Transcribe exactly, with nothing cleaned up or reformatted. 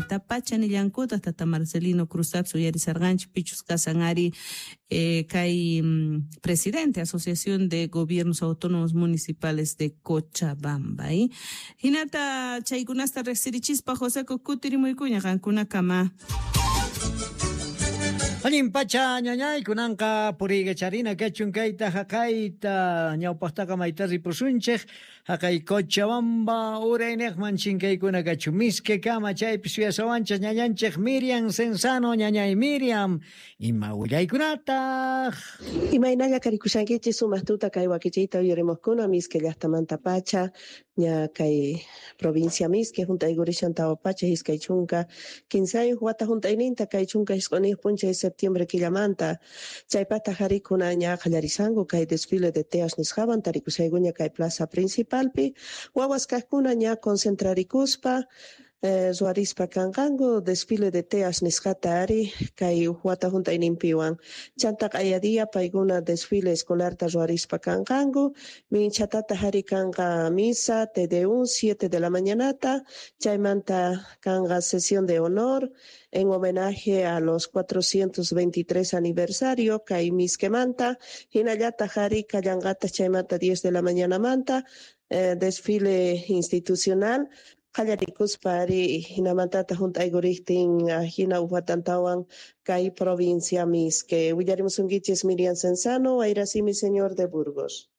Manta pacha nillankutaq tata Marcelino Cruzapis uyarisarqanchik, pichus kasan ari eh, kay mm, presidente Asociación de Gobiernos Autónomos Municipales de Cochabamba, ¿eh? Hinata chaykunasta riqsirichispa, Joseco, kutirimuykuña qankunakama. Allin pacha, ñañay, kunanqa puriykacharina kachun kayta haqayta. Ñawpaqtaqa mayta ripusunchik? Haqay Cochabamba urayniqman chinkaykuna kachun, Mizquekama. Chaypi suyasawanchik ñañanchik Miriam Cenzano. Ñañay Miriam, ima willaykunataq? Imaynalla karikushankichis? Sumaq tuta kay wakichiyta uyarimuqkuna. Mizque llaqtamanta pacha, ña kay provincia Mizque hunt'aykurishan tawa pachak iskay chunka kinsayuq wata hunt'ayninta kay chunka isq'uniyuq p'unchay septiembre killamanta. Chaypataq harikuna ña qallarisanku kay desfile de teas nisqawan. Tarikushaykuña kay plaza principalpi, wawas kaqkuna ña concentrarikuspa eh, ruwarispa kanqanku desfile de teas nisqata ari kay wata hunt'ayninpiwan. Chanta q'aya paykuna desfile escolarta ruwarispa kanqanku. Minchatata hari kanqa misa Te Deum siete de la mañanata. Chaymanta kanqa sesión de honor en homenaje a los cuatrocientos veintitrés aniversario kay Mizquemanta. Hinallataq hari kallanqataq chaymanta diez de la mañana manta eh, desfile institucional qallarikuspa ari hinamantata hunt'aykuriqtin hina uwatantawan kay provincia Mizque. Willarimusunkichis Miriam Cenzano, Wayrasimi, señor de Burgos.